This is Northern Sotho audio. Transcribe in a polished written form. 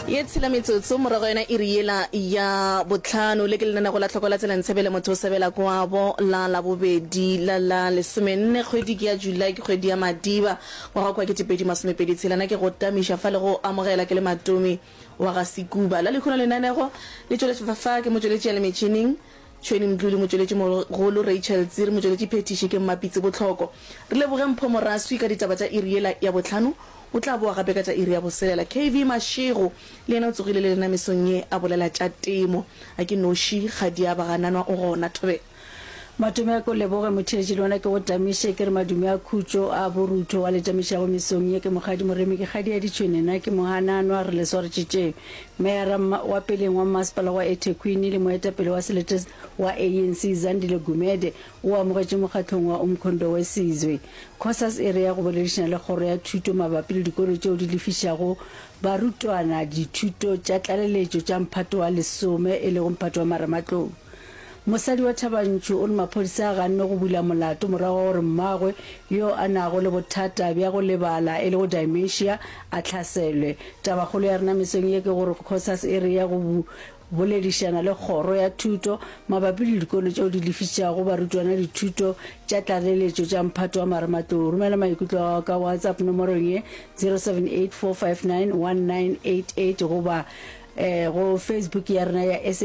Ye tshela metsotso morago yona iri yela ya bohlano. Le ke lenanego la Tlhoko la Tsela Ntshebele motho o sebela kwabo la Labobedi la la lesomenne kgwedi ke ya July ke kgwedi ya Madiba ngwaga kwa 2026. Na ke go tamiša fa le go amogela ke le Matomi wa ga Sekuba. La lehono lenanego le tšweletšwa fa ke motšweletši ya le metšhining Tšhweni Mdluli, motšweletši mogolo Rachel Tsiri, motšweletši phethiši ke Mmapitsi Botlhoko. Re leboge Mpho Moraswi ka ditaba tša iri yela ya bohlano. O tla boa gape ka tša iri ya boselela. KV Mashego le yena o tsogile le rena mesong ye a bolela tša temo. A ke noši, kgadi ya bagananwa o gona. Thobela. Matome a ko leboge motheetši le wena ke go tamiše ke re madume a khutšo a borutho wa le tamišago mesong ye ke mokgadi Moremi ke kgadi ya ditšhwene nna ke mohananwa re le swaretše tše Meyara wa peleng wa mmasepala wa eThekwini le moetapele wa selete wa ANC Zandile Gumede o amogetše mokgahlong wa Umkhonto we Sizwe Cosas e re ya go boledišana le Kgoro ya Thuto mabapi le dikolo tšeo di lefišago barutwana dithuto tša tlaleletšo tša mphato wa lesome e lego mphato wa marematlou. Mosadi wa Thabantšhu o re maphodisa a ganne go bula molato morago ga gore mmagwe yo a nago le bothata bja go lebala e lego dementia a hlaselwe. Tabakgolo ya rena mesong ye ke gore Cosas e re ya go Boledišana le Kgoro ya Thuto mabapi le dikolo tšeo di lefišago barutwana dithuto tša tlaleletšo tša mphato wa marematlou. Romela maikutlo a gago ka WhatsApp nomorong ye 0784591988 goba go Facebook ya rena ya.